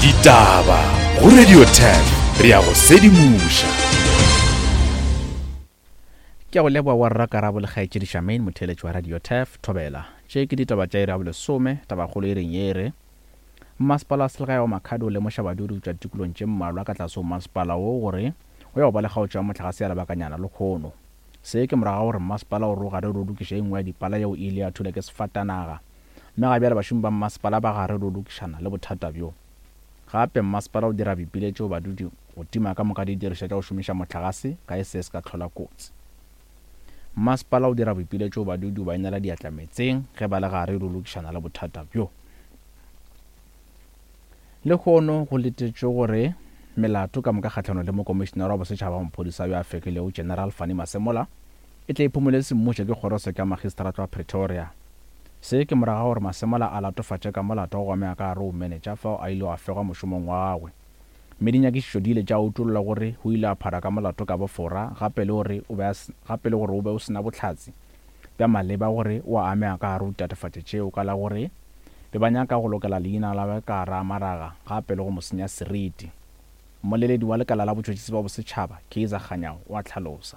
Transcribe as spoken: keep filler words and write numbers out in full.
Ditaba go Radio Turf, re a go sedimoša. Ke a go leboga wa rra Karabo le kgaetšedi Charmaine, motheeletši wa Radio Turf, Thobela. Tše ke ditaba tša iri ya bolesome, tabakgolo e reng ye e re Mmasepala wa selegae wa Makhado o lemoša badudi go tšwa ditikolong tše mmalwa ka tlase go mmasepala wo gore o ya go ba le kgaotšo ya mohlagase ya lebakanyana lekgono. Se ke morago ga gore mmasepala o re o gare o lokiša e nngwe ya dipala yeo e ile ya thula ke sefatanaga, mme ga bjale bašomi ba mmasepala ba gare o lokišana le bothata bjo. Gape mmasepala o dira boipiletšo go badudi go tima ka moka didirišwa tša go šomiša mohlagase ka e se se ka hlola kotsi. Mmasepala o dira boipiletšo go badudi go ba inela diatla meetseng ge ba le gare o lokišana le bothata bjo. Lehono go letetšwe gore melato ka moka kgahlanong le mokomišenara wa bosetšhaba wa maphodisa yo a fekilego General Fannie Masemola e tle e phumole semmušo ke kgorotsheko ya magistrata wa Pretoria. Se ke morago ga gore Masemola a latofatše ka molato wa go amega ka gare go menetša fao a ilego a fegwa mošomong wa gagwe. Mme dinyakišišo di ile tša utolla gore o ile a phara ka molato ka bofora gape le gore o be a gape le gore o be o sena bohlatse bja maleba gore o a amega ka gare go ditatofatšo tšeo ka la gore be ba nyaka go lokela leina la gagwe ka gare ga maraga gape le go mo senya seriti. Mmoleledi wa lekala la botšhotšhisi bja bosetšhaba, Kaizer Kganyao, o a hlalosa.